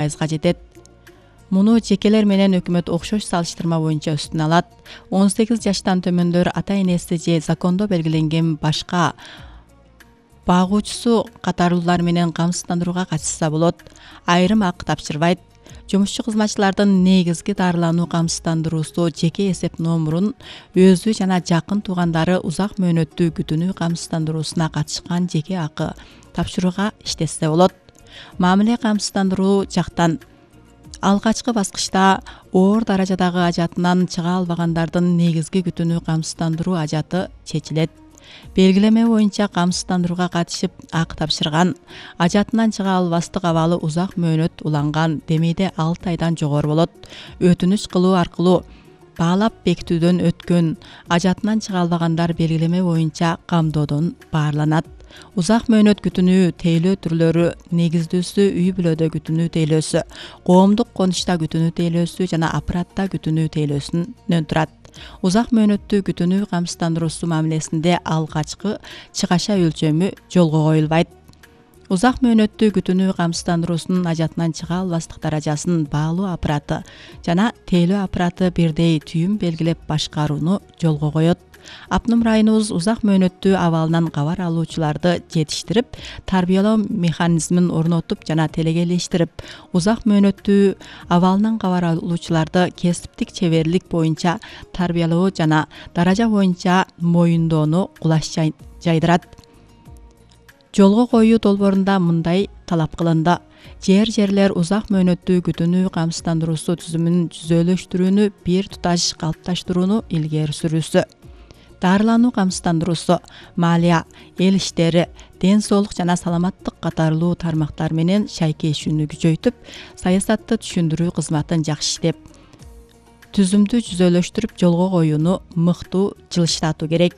пайызга жетет. Муну жекелер менен өкмөт окшош салыштырма боюнча үстүнө алат. 18 жаштан төмөндөр ата-энеси же закондо белгиленген башка багуучусу катарлуулар менен камсыздандырууга катышса болот. Айрым акы тапшырбайт. Жумушчу кызматчылардын негизги дарылануу камсыздандыруусу жеке эсеп номурун өзү жана жакын туугандары узак мөөнөттүү күтүүнү камсыздандыруусуна катышкан жеке акы тапшырууга иштешсе болот. Мамиле камсыздандыруу жактан алгачкы баскычта оор даражадагы ажатынан чыга албагандардын негизги күтүүнү камсыздандыруу ажаты чечилет. Белгилеме боюнча камсыздандырууга катышып акы тапшырган, ажатынан чыга албастык абалы узак мөөнөт уланган, демейде 6 айдан жогору болот. Өтүнүч кылуу аркылуу баалап бекитүүдөн өткөн, ажатынан чыга албагандар белгилеме боюнча камдоодон баарланат. Узак мөөнөт күтүүнү тейлөө түрлөрү негиздүүсү үй бүлөдө күтүүнү тейлөөсү, коомдук конушта күтүүнү тейлөөсү жана аппаратта күтүүнү тейлөөсүнөн турат. Узак мөөнөттүү күтүүнү камсыздандыруусу мамилесинде алгачкы чыгаша өлчөмү жолго коюлбайт. Узак мөөнөттүү күтүүнү камсыздандыруусунун ажатынан чыга албастык даражасын баалуу аппараты жана тейлөө аппараты бирдей түйүн белгилеп башкарууну жолго коет. Апнум районубуз узак мөөнөттүү абалынан кабар алуучуларды жетиштирип, тарбиялоо механизмин орнотуп жана телегелештирип, узак мөөнөттүү абалынан кабар алуучуларды кесиптик чеберлик боюнча тарбиялоо жана даража боюнча моюндоону кулаш жайдырат. Жолго коюу долбоорунда мындай талап кылынды: жерлер узак мөөнөттүү күтүүнү камсыздандыруусу түзүмүн жүзөлөштүрүүнү бир туташ калыпташтырууну илгери сүрүүсү. Дарылануу камсыздандыруусу малия, эл иштери, ден соолук жана саламаттык катарлуу тармактар менен шайкешүүнү күчөйтүп, саясатты түшүндүрүү кызматын жакшы иштеп, түзүмдү жүзөлөштүрүп жолго коюуну мыктуу жылыштатуу керек.